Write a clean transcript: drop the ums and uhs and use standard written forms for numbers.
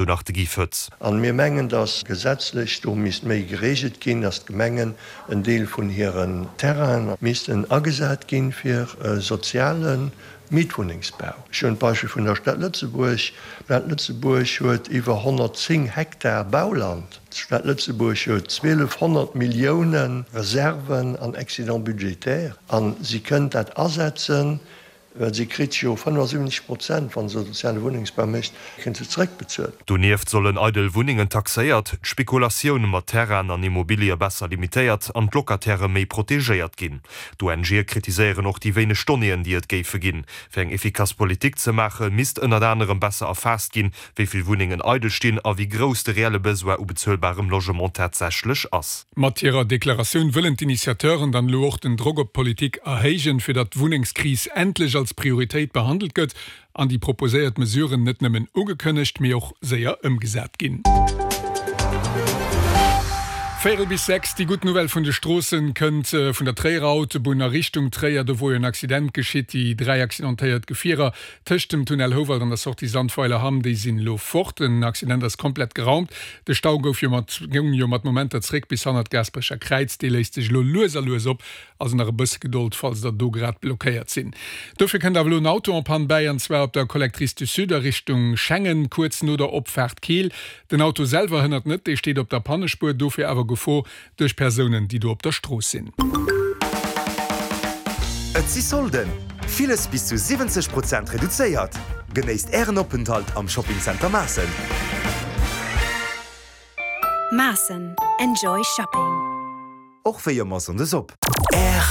Sou nach de Guy Foetz. An mir mengen, dass gesetzlech do misst méi geregelt ginn, dass d'Gemengen en Deel vun hiren Terrainen missten agesat ginn fir soziale Mietwunnengsbau. Ech hunn d'Beispill vun der Stad Lëtzebuerg. D'Stad Lëtzebuerg huet iwwer 110 Hektar Bauland. D'Stad Lëtzebuerg huet 1.200 Milliounen Reserven an Excédent budgétaire a si kënnt dat asetzen Well si kritt jo 75 Prozent, wa se soziale Wunnengsbau mécht, kritt se zeréckbezuelt. Donieft sollen eidel Wunnengen taxéiert, d'Spekulatioun mat Terrainen an Immobilië besser limitéiert an d'Locatairë méi protegéiert ginn. D'ONGe kritiséieren och déi wéineg Donnéeën, déi et géife ginn. Fir eng efficace Politik ze maache misst ënnert anerem besser erfaasst ginn, wéi vill Wunnengen eidel stinn a wéi grouss de reelle Besoin u bezuelbarem Logement tatsächlech ass. Mat hirer Deklaratioun wëllen d'Initiateuren dann elo och den Drock op d'Politik erhéijen, fir datt d'Wunnengskris endlech als Prioritéit behandelt gëtt an déi proposéiert Mesuren net nëmmen ugekënnegt, mee och séier ëmgesat ginn. Véierel bis 6, Déi gutt Nouvelle vun de Stroossen kënnt vun der Tréierer Autobunn a Richtung Tréier. Do wor jo en Accident geschitt. Déi 3 accidentéiert Gefierer Tëscht dem Tunnel Houwald an der Sortie Sandweiler-Hamm, déi sinn elo fort. Den Accident ass komplett geraumt. De Stau gouf jo mat goung jo mat Momenter zréck bis hannert d'Gaasperecher Kräiz. Dee léist sech elo lues a lues op. Also nach e bësse Gedold, falls der do grad blockéiert sinn. Dofir kënnt awer elo en Auto en panne bäi, an zwar op der Collectrice du Sud a Richtung Schengen, kuerz no der Opfaart Keel. Den Auto selwer hënnert net, dee steet op der Pannespuer, dofir awer Gefor Duerch Persounen, déi do op der Strooss sinn. Et si Solden! Villes bis zu 70 Prozent reduzéiert! Genéisst Ären Openthalt am Shopping Center Maassen! Maassen, Enjoy Shopping! Och wéi ëmmer Sonndes op. R.